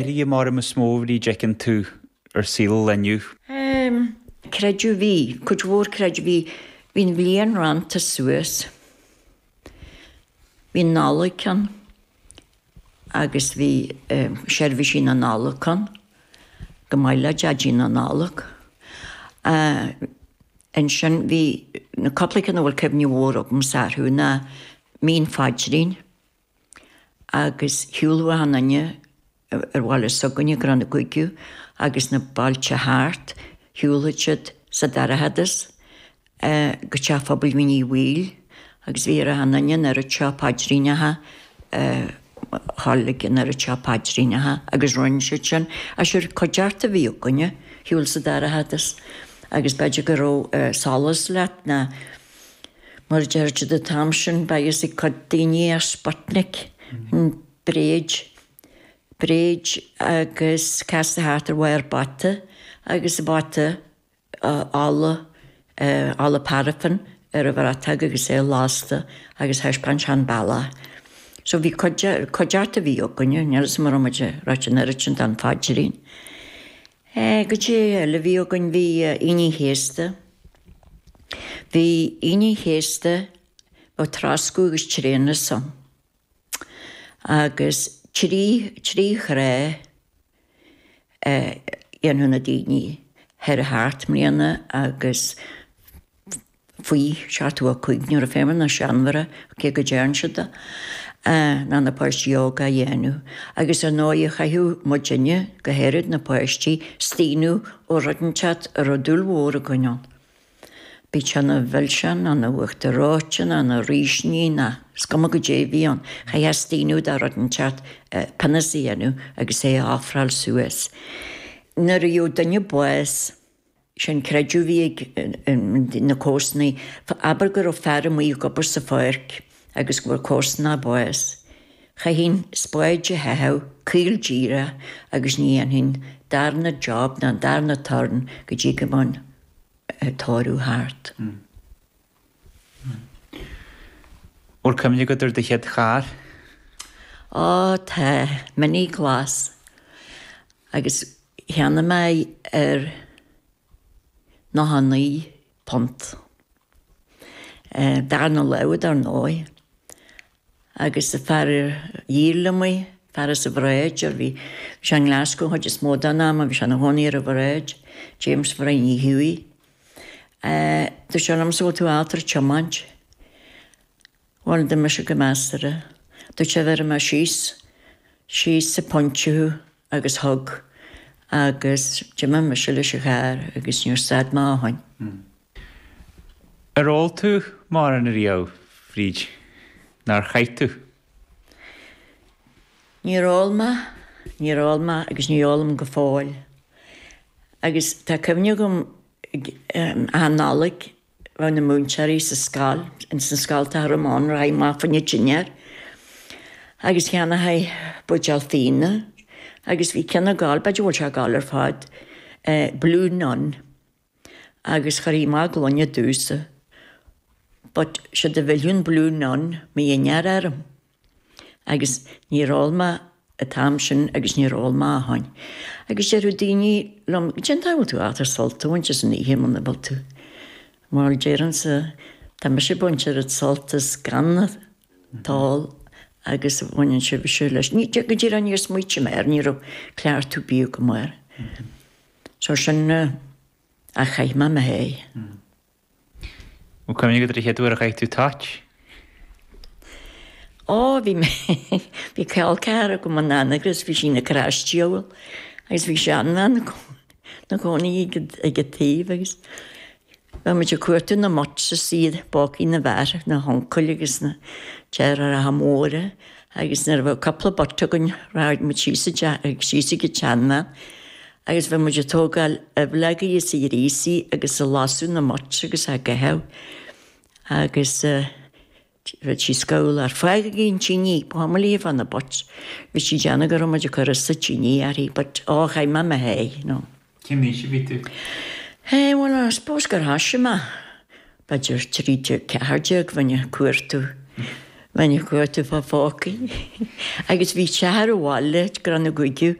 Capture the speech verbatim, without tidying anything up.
Athruithe mar is mó a bhí feiceann tú ar saol inniu? Um, Creideamh bhí, cuid mhór creideamh bhí, bhí an bhliain rannta suas. Bhí Nollaig ann agus bhí um, seirbhísí na Nollag ann, go maith le Daidí na Nollag. Uh, Ansin bhí na cúpla ceann a bhfuil cuimhne mhór agamsa orthu ná mí an Phaidrín agus shiúladh achan duine ar bhaile s'againne Crann na gCuigiú agus na bailte thart, shiúlfadh siad sa dorchadas uh, go teach phobail Mhín Uí Bhaoill agus bhí ar achan duine an oiread seo paidríneacha uh, tháinig an oiread seo paidríneacha agus rinne siad sin a sure cuideachta a bhí againne shiúl sa dorchadas agus b'fhéidir go raibh uh, solas leat ná mar deir siad an t-am sin beidh ag cuid daoine ar Sputnik an bréid bréid agus casta thart ar bharr bata agus a bata uh, ola uh, ola paraffin ar a bhratach agus é lasta agus thaispeáin sé an bealach. So bhí cuideachta a bhí againne, níl mar muid rá an oiread sin den phaidrín. Eh, go dtí eile bhí againn bhí Aoine an Chéasta. Bhí Aoine an Chéasta ó troscadh agus tréanas ann. Agus trí trí thrá eh, dhéanadh na daoine thoir thart mbliana agus faoi seachtó a cúig nuair a fuair na seanmhara cé go dtearn siad é, ná na páistí óga a dhéanamh. Agus ar ndóigh chaithfeadh muidinne, go háirid na páistí, staonadh ó rud inteacht a raibh dúil mhór againn ann. Bíodh sé ina mhilseán, ina uachtar reoite, ina rísní, ná is cuma goidé a bhí ann. Chaithfeá staonadh de rud inteacht penance a dhéanamh agus é a ofráil suas. Nuair a gheobhadh duine bás, sin creideamh a bhí ag na comharsanaí, abair go raibh fear amuigh ag obair sa pháirc agus go bhfuair comharsanach bás. Chaithfinn spáid a chaitheamh caol díreach agus ní dhéanfainn darna job ná darna turn go dtí go mbeadh an tórramh thart. Bhfuil cuimhne agat ar do chéad charr? Ó tá, Mini glas. Agus cheannaigh mé ar nócha naoi punt. Darna lámh dar ndóigh. Agus an fear a dhíol liom í, fear as an Bhráid, ar bhí sé i nGlasgow an chuid is mó den am, bhí sé ina chónaí ar an Bhráid, James Bhrian Uí Thuaidh. Dúirt sé liomsa bhfuil tú ábalta tiomáint. Bhuel, d'imigh mise go measartha. Dúirt sé bhéarfaidh mé síos, síos sa phointe thú agus thug agus d'imigh mise leis an charr agus níor stad mé ó shin. Ar ól tú mórán ariamh, Bhríd? Nár chaith tú? Níor ól mé, níor ól mé agus ní ólaim go fóill. Agus tá cuimhne agam achan Nollaig bheadh na múinteoirí sa scoil, ins na scoltacha a raibh mé ann, raghaidh amach fá choinne dinnéar. Agus cheannóchaí buidéal fíona agus bhí ceann ag gabháil, b'fhéidir go bhfuil sé ag gabháil ar fad, Blue Nun. Agus chuirfí amach gloine domhsa. But siad a mhilleadh an Blue Nun mo dhinnéar orm. Agus níor ól mé an t-am sin agus níor ól mé ó shin. Agus déarfadh daoine liom, cén fáth a bhfuil tú ábalta sult a bhaint as an oíche muna bhfuil tú? Bhuel, deirimse, tá mise ag baint oiread sult as gan an t-ól agus a bhaineann sibhse leis. Ní, go díreach níor smaoitigh mé air, ní raibh cleachtadh ar bith agam air. So sin a chaith mé mo sháith. Bhfuil cuimhne agat ar an chéad uair a chaith tú toit? Ó, bhí mé, bhí col ceathrar agam in Annaghross, bhí sí ina craisdiabhal agus bhí seanbhean ina cónaí ag an taobh agus bheadh muid ag cuartú na mutts is iad i bpócaí na bhfear, na huncail agus na deartháireacha móra agus nuair a bheadh cúpla butt againn rachadh muid síos síos ag an tseanbhean agus bheadh muid ag tógáil aibhleogaí is a ghríosaí agus ag lasadh na mutts agus á gcaitheamh agus bheadh sí scamhal fágaigí an tine, ba chuma léi fá na butts. Bhí sí ag déanamh go raibh muid ag cur as sa tine uirthi but ó chaith mé mo sháith, no. Cén aois a bhí tú? Eh, well, I suppose gur thoisigh mé b'fhéidir trí déag, ceathair déag, bheinn ag cuartú Bhain cuarta fá phócaí agus bhí teach ar an bhaile go raibh na gcuigiú